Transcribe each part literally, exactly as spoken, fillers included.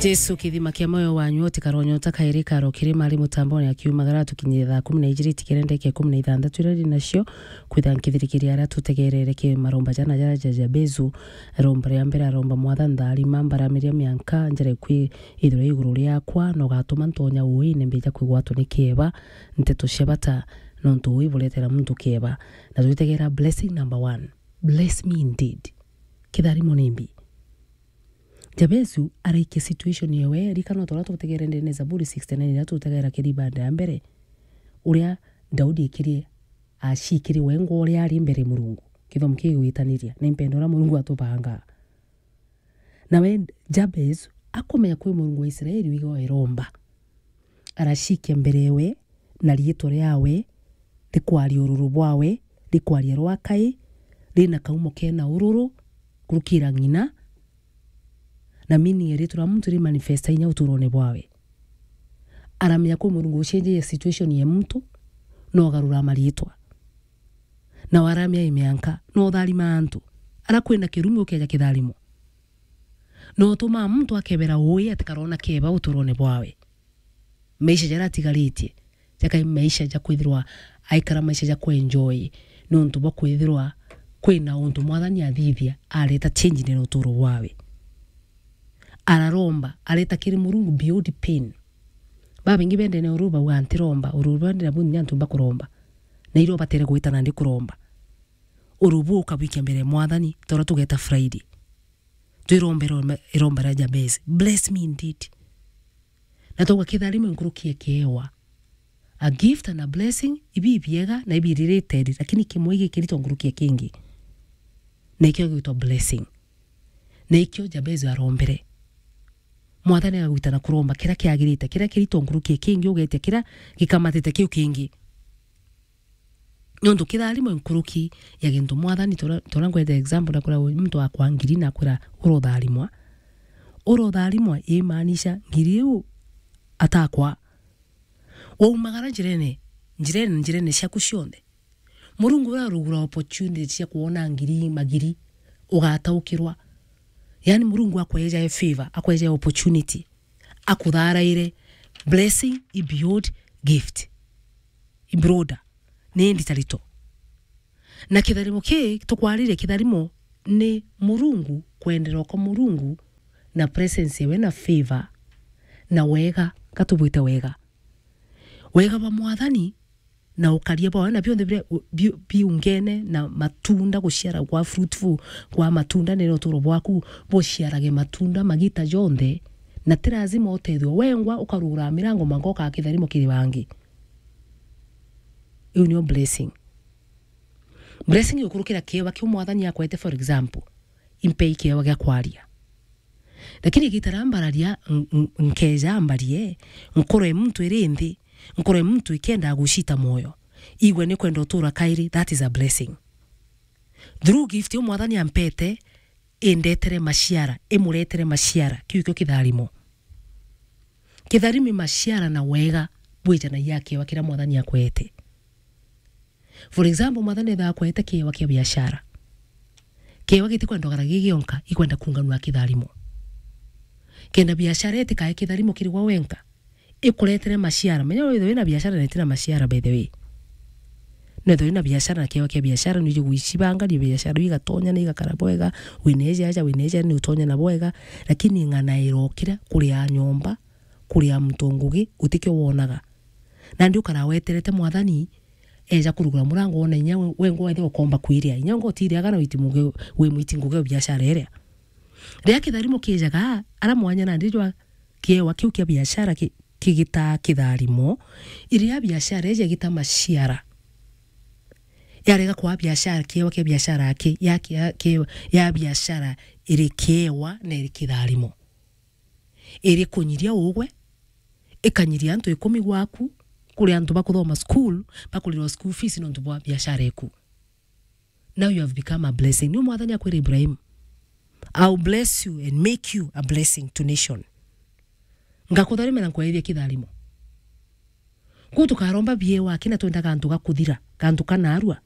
Jesu, kithima kia moyo wanyu, utikaro nyota kairi karo kiri mari mutambone akiumagara tukinyire thaa kumi na ijiri tikirendeke kumi na ithanthatu iria ri nacio, kwitha nkithirikiria aria tutegerere ki maromba jana jaria ja Jabezu. Romba ria mbere aromba, Mwathani, ntharima, mbaramiria mianka njere kwi ithirwa iguru riakwa, na ugatuma ntonya uine mbija kwigwatwa ni kieba. Nteto cia bata, nontu ui buretera muntu kieba. Na twitegera blessing number one. Bless me indeed. Kitharimo ni mbi. Jabezu araikia situation yewe, rikana o ta uria tutegere ndene Zaburi sixty-nine iria tutegera kiri banda ya mbere, uria Daudi ekirie, acikiri wengwa uria ari mbere Murungu. Kithomo kigwitaniria, ni mpendo uria Murungu atubangaa. Nawe Jabezu akumenya kwi Murungu wa Israeli wiga iromba. Aracikia mbere ewe, na riitwa riawe rikwaria ururu bwawe, rikwaria rwa kai, rina kaumo kena ururu, kurukira ng'ina, na meaning ya riitwa ria muntu rimanifesta inya uturone bwawe. Aramenya kwi Murungu ucenjagia situation ya muntu, na ugarura mariitwa. Na waramia imianka, na utharima antu. Ara kwina kirumi ukeja kitharimo. Na utumaa muntu akebera ui ati karona keba uturone bwawe. Maisha jaria atigaritie, jakai maisha ja kwithirwa aikara maisha ja kuenjoy, nontu bwa kwithirwa kwina untu Mwathani athithia, areta change ndene uturo bwawe. Araromba, areta kiri Murungu beyond pain. Babaingi bendene uru bauga, "Ntiromba, uru bendene bu ni antu mbakuromba." Na irio batere gwita nandi kuromba. Uru bu ukabwikia mbere ya Mwathani, toro tugeta Friday. Twirombe iromba, iromba ria Jabez. "Bless me indeed." Na twauga kitharimo nkuruki ya kiewa. A gift and a blessing, ibi ibiega na ibi related, lakini kimwe gikirito nkuruki ya kingi. Na ikio gitwa blessing. Na ikio Jabez arombere. Mwathani agagwita na kuromba kiria kiagirite, kiria kirito nkuruki ya kingi, ugetia kiria gikamatite kiu kingi. Nontu kitharimo nkuruki ya gintu Mwathani, tora, tora ngwete example, na kwira muntu akwa ngiri na kwira, "Urotharimwa." Urotharimwa imaanisha ngiri iu atakwa. Waumagara njirene, njirene, njirene ciaku cionthe. Murungu uria urugura opportunity cia kuona ngiri magiri, ugataukirwa. Yani Murungu akweja favor, akweja opportunity. Akutharaire. Blessing i beyond gift. I broader. Ni nditarito. Na kitharimo ki, tukwariria kitharimo ni Murungu, kwenderwa kwa Murungu, na presence yawe, na favor, na wega, katubwite wega. Wega bwa Mwathani, na ukaria bwawe, na bionthe biria u-, biu-, biungene na matunda, guciara gwa fruitful gwa matunda, nene uturo bwaku buciarage matunda magita jonthe, na ti lazima utethwe wengwa ukarugura mirango mwanka ukaa kitharimo kiri bangi. Iu niyo blessing. Blessing iukurukira kiewa kiu Mwathani akwete, for example, impei kiewa gia kwaria. Lakini igita riria mbararia, n-, n-, nkeja mbarie, nkoro ya muntu iri nthi, nkoro ya muntu ikienda gucita moyo. Igwe ni kwenda utura kairi, that is a blessing. Through gift iu Mwathani ampete, indetere maciara, imuretere maciara, kiu ikio kitharimo. Kitharimo i maciara na wega bwijanagia kiewa kiria Mwathani akwete. For example, Mwathani ethaa akwete kiewa kia biashara. Kiewa gitikwenda ugaragia gionka, ikwenda kunganua kitharimo. Kenda biashara itikae kitharimo kiri gwa wenka, ikuretere maciara. Menya withwe wina biashara na itina maciara, by the way. Nethwe wina biashara na kiewa kia biashara, nwiji gwicibanga, ni biashara igatonya na igakara bwega, wineja aja, wineja ni utonya na bwega, lakini ng'ana irokira kuria nyomba, kuria muntu ngugi, gutikio wonaga. Nandi ukara weterete Mwathani eja kurugura murango, wona inya we, we ngo wethira ukomba kwiria. Inya ngo utiriaga na witi muge-, wi mwiti ngugi o biashara iria. Riria kitharimo kijaga, ara mwanya nandi jwa kiewa kiu kia biashara ki-, kigitaa kitharimo, iria biashara iji igita maciara. Yarega kwa biashara, kiewa kia biashara ki-, ya, ya, ki-, ya biashara iri kiewa na iri kitharimo. Iri kunyiria ugwe, ikanyiria antu ikumi gwaku, kuri antu bakuthoma school, bakurirwa school fees nontu bwa biashara iku. Now you have become a blessing. Niu Mwathani akwira Ibrahim, "I will bless you and make you a blessing to nation." Ngakutharima na nkwethia kitharimo. Kuu tukaromba biewa, kina twenda gantu ga kuthira, gantu kanarua.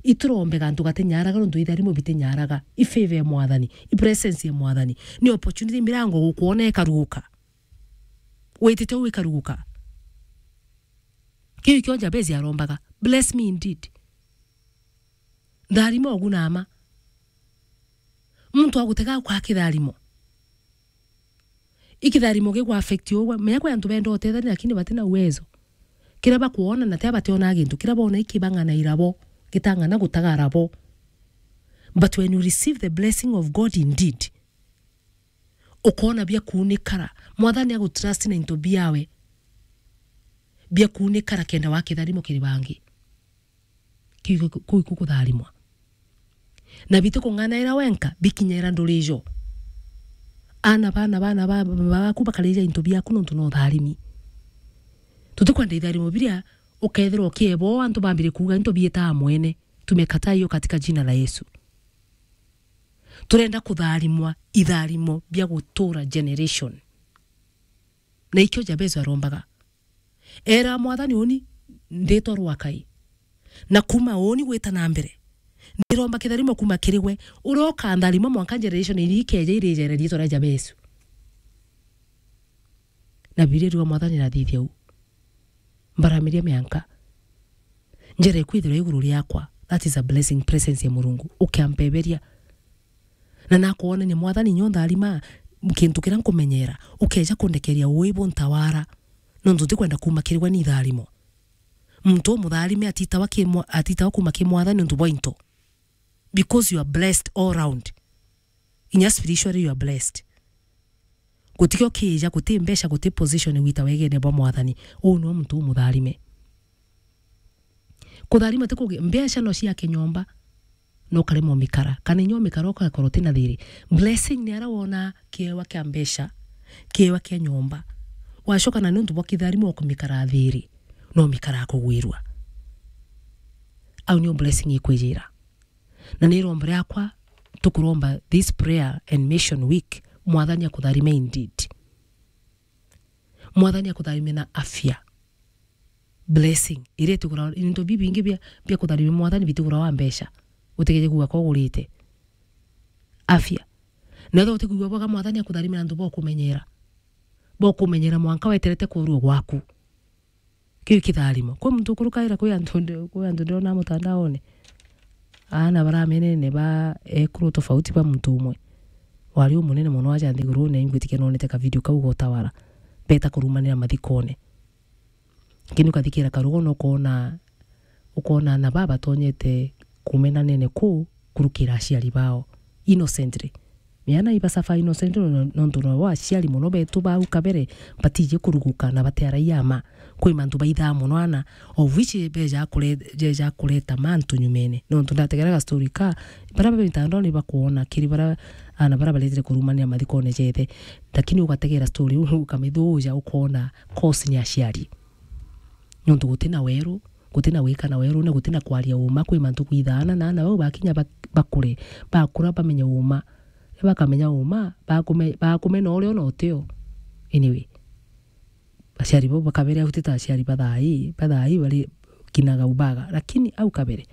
Iturombe gantu gatinyaraga, nontu itharimo bitinyaraga. I favor ya Mwathani, i presence ya Mwathani. Ni opportunity, mirango gukwona ikaruguka. Witite uu ikaruguka. Kiu ikio Jabezi arombaga, "Bless me indeed." Ntharima ugu na mma. Muntu agutega kwa kitharimo. I kitharimo gigwa affect ugwe. Menya kwi antu benda utethania, lakini batina uwezo. Kiria bakwona na tia bationaa gintu. Kiria bona iki bang'anaira bo, gitang'ana gutagara bo. But when you receive the blessing of God indeed, ukoona bia kuunikara. Mwathani agutrust na into biawe. Bia kuunikara kenda wa kitharimo kiri bangi. Kiu, kuu iku kutharimwa. Na bitikung'anaira wenka, bikinyira nduri ijo. Aana, baana, baana ba, baku bakarija into biaku nontu no utharimi. Tutikwenda itharimo biria ukethirwa ukiebo antu bambire kuuga into biitaa mwene. Tumekataa hiyo katika jina la Yesu. Turenda kutharimwa itharimo bia gutura generation. Na ikio Jabezu arombaga. Era Mwathani, uni nditwa rwakai. Na kuuma uni gwita na mbere, ndiromba kitharimo kuuma kiri gwe, uria ukantharima mwanka generation iria ikeeja irijere riitwa ria Jabezu. Na Bibilia iriuga Mwathani nathithia u. Mbaramiria mianka. Njira ikwithirwa iguru riakwa. That is a blessing, presence ya Murungu. Ukiampeberia. Na nakwonania Mwathani nyo ntharima kintu kiria nkumenyera. Ukeeja kundekeria ui buntawara. Nontu ntikwenda kuuma kiri gwe ni itharimo. Muntu umutharime atitawa ki mwa-, atitawa kuuma ki Mwathani nontu bwa into. Because you are blessed all round. Inya spiritually you are blessed. Gutikio kiija, guti mbeca, guti position wita wegene bwa Mwathani. Uu niwe muntu umutharime. Kutharima ti kugi-, mbeca no ciake nyomba, no karema umikara. Kana inya umikara ugakorwo utina thiri. Blessing ni aria wona kiewa kia mbeca, kiewa kia nyomba. Wacoka na niuntu bwa kitharimo ukumikara thiri, no umikara kugwirua. Au niyo blessing ikwijira. Na ni irombo riakwa, tukuromba this prayer and mission week, Mwathani akutharime indeed. Mwathani akutharime na afya. Blessing. Iria itigura, into bibingi bia, bia kutharime Mwathani bitigura wa mbeca. Utigeje kuuga ko ugurite. Afya. Na ethirwa utikwigua bwega Mwathani akutharime na antu bokumenyera. Bokumenyera mwanka weterete kurua gwaku. Kiu kitharimo. Kwi muntu ukurukaira kwi antu ndi-, kwi antu ndionaa mutandaone. Aana baramenene ba ekuru tofauti ba muntu umwe. Wari umunene mono aja nthigurune, ingwitikia nonete ka video kau gotawara. Beta kurumanira mathikone. Lakini ukathikira karugo na ukoona, ukoona aana baa batonyete kumenanene kuu kurukira aciari bao. Innocently. Miana iba suffer innocent no-, nontu no aciari mono betu bau kabere batiji kuruguka na batearagia ama. Kwi mantu baithaa mono ana, of which beja kure-, jeja kureta mantu nyumene. Nontu ndategera ga story ka, bara ba mitandaoni bakwona kiri bara ana bara baretire kurumanira mathikone jethe. Lakini ugategera story u ukamithuja ukona cause ni aciari. Nontu gutina weru, gutina gwikana weru, na gutina kwaria uma, kwi mantu kwithaana na ana bau bakinya bak-, bakure, bakura bamenye uma. Riria bakamenya uma, bakume-, bakumena uria ona utio. Anyway, aciari bau bakabere au ti ta aciari ba thaa ii, ba thaa ii bari kinaga ubaga. Lakini au kabere,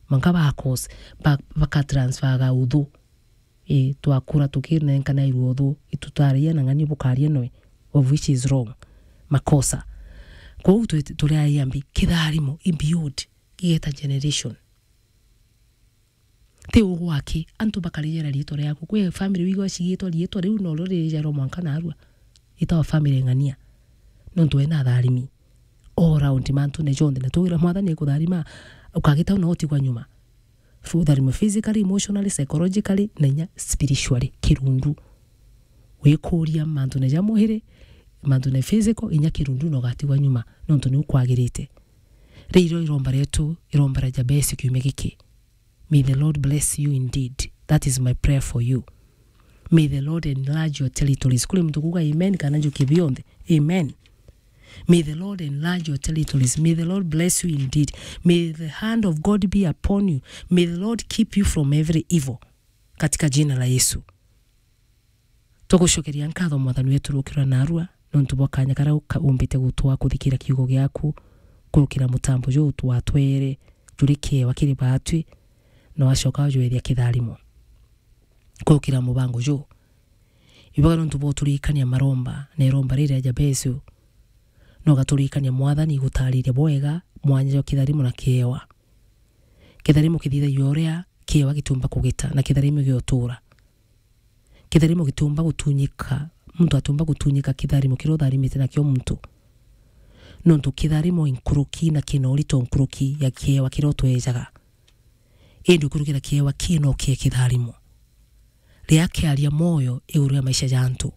mwanka ba cause, ba-, bakatransferaga uthu. Ii, twakura tukinenkanairua uthu, itutaragia na ng'ania bukaria noe, of which is wrong. Makosa. Kwou twi-, turi aria mbi, kitharimo, i build, gigeta generation. Ti ugwaki, antu bakarijera riitwa riaku. Kwi family wigua cigitwa riitwa riu, no rio ririjarwa mwanka narua. Itawa family ng'ania. Nontu wena atharimi. All round mantune jonthe. Na tugira Mwathani ekutharima, ukagita una utigwa nyuma. Fu-, utharima physically, emotionally, psychologically, na inya spiritually, kirundu. Wikuria mantune ja mwiri, mantune physical, inya kirundu na ugatigwa nyuma, nontu ni ukwagirite. Riu irio iromba rietu, iromba ria Jabesi kiumia giki. May the Lord bless you indeed. That is my prayer for you. May the Lord enlarge your territories. Kuri muntu kuuga amen kana njukie bionthe. Amen. May the Lord enlarge your territories. May the Lord bless you indeed. May the hand of God be upon you. May the Lord keep you from every evil. Katika jina la Yesu. Tugucokeria nkatho Mwathani wetu rukirwa narua, nontu bwa kanya karia uka-, umbite gutwa kuthikira kiugo giaku, kurukira mutambo juu twatwere, juri kiewa kiri baatwi, na wacoka wajweethia kitharimo. Kukira mubango juu, ibaga nontu bwa uturikania maromba, na iromba riri ria Jabesu, na ugaturikania Mwathani igutariria bwega mwanya jwa kitharimo na kiewa. Kitharimo kithithagia uria kiewa gitiumba kugita, na kitharimo giotura. Kitharimo gitiumba gutunyika, muntu atiumba gutunyika kitharimo kiria utharimite nakio muntu. Nontu kitharimo inkuruki na kina urito nkuruki ya kiewa kiria utwejaga. Indi ukurukira kiewa kii no kie kitharimo. Riria kiaria moyo iguru ria maisha ja antu.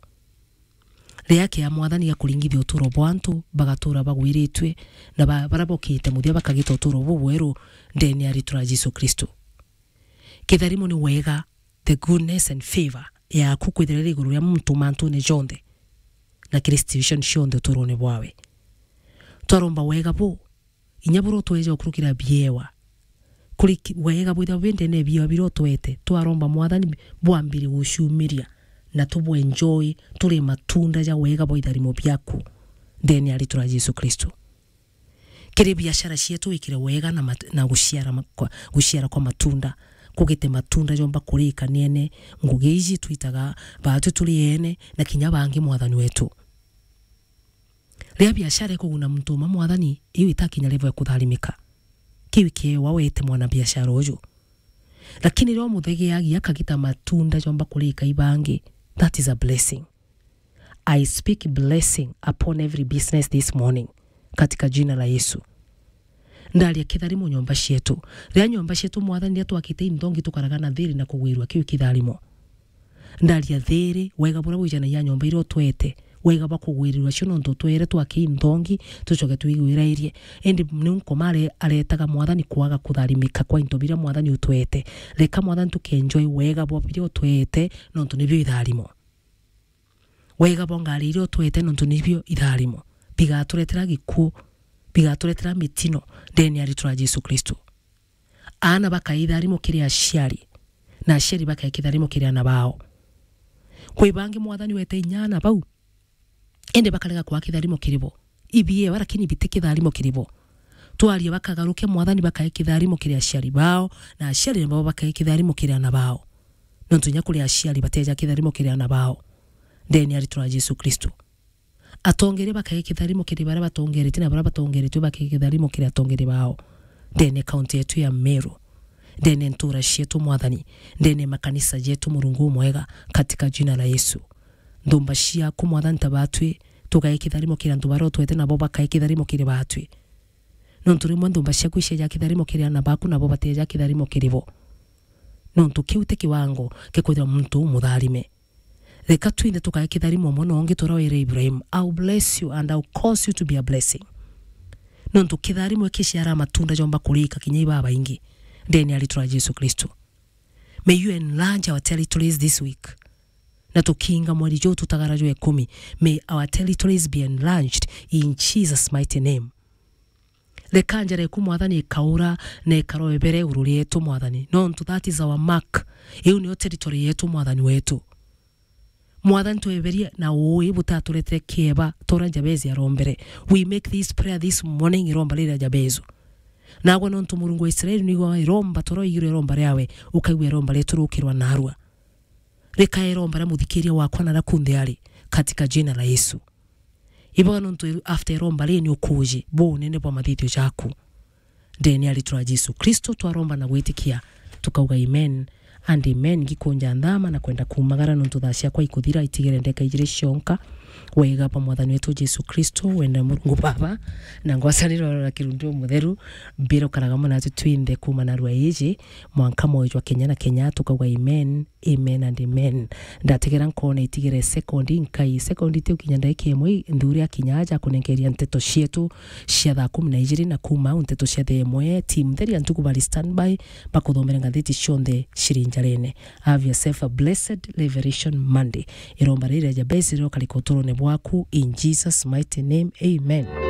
Riria kia Mwathani gakuringithia uturo bwa antu, bagatura bagwiritue, na ba-, baria bokite muthia bakagita uturo bubweru ndene ya ritwa ria Jesu Kristo. Kitharimo ni wega, the goodness and favour yaku kwithira iri iguru ria muntu mantune jonthe, na kiri situation cionthe uturone bwawe. Twaromba wega bu, inya buria utweja ukurukira biewa. Kuri ki-, wega bwithirwa bwi ndene ya biewa biria utwete, twaromba Mwathani bwambire guciumiria, na tubuenjoy, turi matunda ja wega bwa itharimo biaku, ndene ya ritwa ria Jesu Kristo. Kiri biashara cietu wikire wega na mat-, na guciara ma-, kwa, guciara kwa matunda. Kugite matunda jomba kurika niene, ngugi iji twitaga baatu turi ene, na kinya bangi Mwathani wetu. Riria biashara ikuguna muntu uma Mwathani, iu itakinya level ya kutharimika. Kiu kiewa wete mwana biashara uju. Lakini riria umuthegeagia akagita matunda jomba kurika ibangi, that is a blessing. I speak blessing upon every business this morning, katika jina la Yesu. Ndaria kitharimo nyomba cietu. Riria nyomba cietu Mwathani, riria twakite inthongi tukaraga na thiri na kugwirua, kiu kitharimo. Ndaria thiri, wega buria bwijanagia nyomba iria utwete, wega bwa kugwirirua cio nontu utwere twake inthongi, tucoke twigwirairie. Indi niu Nkoma are-, aretaga Mwathani kwaga kutharimika kwa into biria Mwathani utwete. Reka Mwathani tukenjoy wega bwa biria utwete, nontu nibio itharimo. Wega bwa ngari iria utwete nontu nibio itharimo. Bigaturetera gikuu, bigaturetera mitino ndene ya ritwa ria Jesu Kristo. Aana bakae itharimo kiri aciari, na aciari bakae kitharimo kiri aana bao. Kwi bangi Mwathani wete inya aana bau, indi bakarega kwaa kitharimo kiri bo. Ibiewa, lakini biti kitharimo kiri bo. Twaria bakagaruke, Mwathani bakae kitharimo kiri aciari bao, na aciari nabo bakae kitharimo kiri aana bao. Nontu inya kuri aciari bateja kitharimo kiri aana bao, ndene ya ritwa ria Jesu Kristo. Atongeria bakae kitharimo kiri baria batongeretie, na baria batongeretue bakae kitharimo kiri atongeria bao, ndene kaunti yetu ya Meru, ndene ntura cietu Mwathani, ndene makanisa jetu Murungu umwega, katika jina la Yesu. Nthumba ciaku Mwathani ta batwi, tukae kitharimo kiri antu baria utwete nabo bakae kitharimo kiri batwi. Nontu rimwe nthumba ciaku iceja kitharimo kiri aana baku nabo bateja kitharimo kiri bo. Nontu kiu ti kiwango kia kwithirwa muntu umutharime. Reka twinthe tukae kitharimo umwe na ungi turia wire Ibrahim, "I will bless you and I will cause you to be a blessing." Nontu kitharimo ikiciara matunda jomba kurika kinya ibabaingi ndene ya ritwa ria Jesu Kristo. May you enlarge our territories this week. Na tukiinga mweri juu tutagara jwa ikumi, may our territories be enlarged in Jesus' mighty name. Reka njara eku Mwathani ikaura na ikaroebere iguru rietu Mwathani. Nontu that is our mark. Iu niyo territory yetu Mwathani wetu. Mwathani tweberie na uui butaturetere kieba, tora Jabezi arombere. We make this prayer this morning, iromba riria Jabezu. Nagwe nontu Murungu wa Israeli nigo iromba toro igiro iromba riawe, ukaigua iromba rietu rukirwa narua. Reka iromba ria muthikiria wakwa na ria kunthe ari, katika jina la Yesu. Ibaga nontu after iromba rii ni ukuji bo unene bwa mathithio jaku. Ndene ya ritwa ria Jesu Kristo twaromba na gwitikia, tukauga amen and amen. Ngikunja nthama na kwenda kumagara nontu thaa ciakwa ikuthira, itigere ndeka ijiri cionka. Wega bwa Mwathani wetu Jesu Kristo, wenda Murungu Baba, na ngwacaniro na Kirundu Mutheru, mbiro karaga mona atu twinthe kuma narua iji, mwanka moyo jwa kenya na kenya, tukauga amen. Amen and amen. Ndategera nkona itigere sekondi nkai, sekondi tiu kinya ndaika imwe, nthuri akinya aja kunenkeria nteto cietu cia thaa kumi na ijiri, na kuma au nteto cia thaa imwe, team theria ntuku bari standby, bakuthomera ngathiti cionthe ciri njarene. Have yourself a blessed Revelation Monday. Iromba riri ria Jabezi riokarika uturone bwaku in Jesus' mighty name. Amen.